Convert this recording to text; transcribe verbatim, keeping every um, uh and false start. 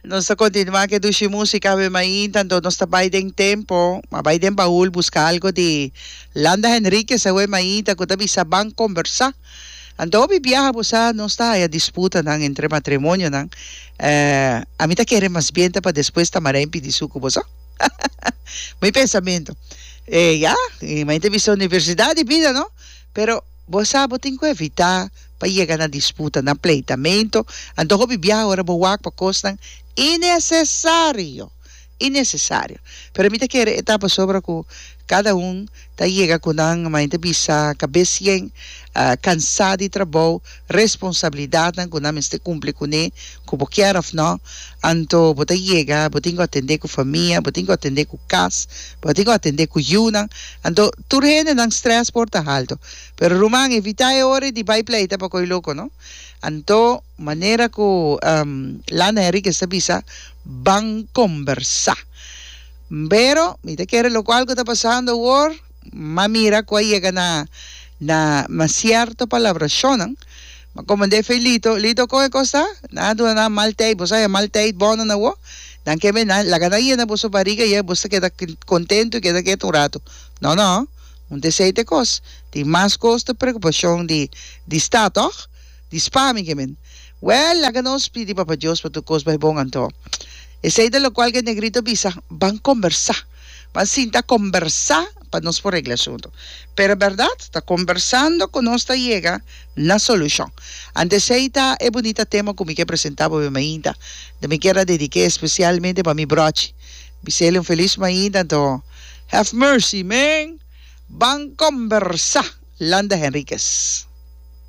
Nos ta kontinuá ku dushi músika awe mainta, anto nos ta bai den tempu, a bai den baul buska algu di Landa Henriquez awe mainta ku ta bisa "Ban kombersá". Anto hopi biaha, bo sa, nos ta haya disputanan entre matrimonionan. Eh, ami ta kere mas bien ta pa despues ta maré pidi suku, bo sa? Mi pensamentu. Eh, ya, i mi ta bisa universidat di bida, no? Pero bo sa, bo tin ku evitá pa yega na disputa, na pleitamentu. Anto hopi biaha ora bo wak pa kosnan innesesario. Innesesario. Pero mi ta kere e ta pasobra ku kada un ta yega ku nan mi ta bisa kabes yen, uh, kansá di trabou, responsabilidatnan ku nan mester kumpli kuné, ku bo ke òf no. Anto bo ta yega, bo tin ku atendé ku famia, bo tin ku atendé ku kas, bo tin ku atendé ku yunan. Anto tur hende nan stress por ta haltu. Pero ruman, evitá e ora di bai pleita pa koi loko, no? Anto manera ku um, Landa Henriquez ta bisa, "Ban kombersá". Pero mi ta kere lokual ku ta pasando awor, m'a mira ku a yega na na na sierto palabrashon, ma komandé fe Lito, Lito kon e kos ta? Na duna nan mal tijd, bo sa mal tijd bon na wo. Dan ke men laga nan yena boso barriga i boso keda kontentu, keda ketu un ratu. No, no. Un deseite kos. Tin mas kos di preokupashon di di sta, toch? Di spa mi ke men. Well, laga nos pidi Papa Dios pa tur kos bai bon anto. Esei ta lokual ku negrito bisa, "Ban kombersá". Ban sinta kombersá pa nos por regla asuntu. Pero berdat, ta kombersando ku nos ta yega na solushon. Anto esei ta e bunita tema ku mi ke presentá pa mainta. Di mi ke dediká espesialmente pa mi brochi. Bis'é un felis mainta, anto have mercy, man. Ban kombersá. Landa Henriquez.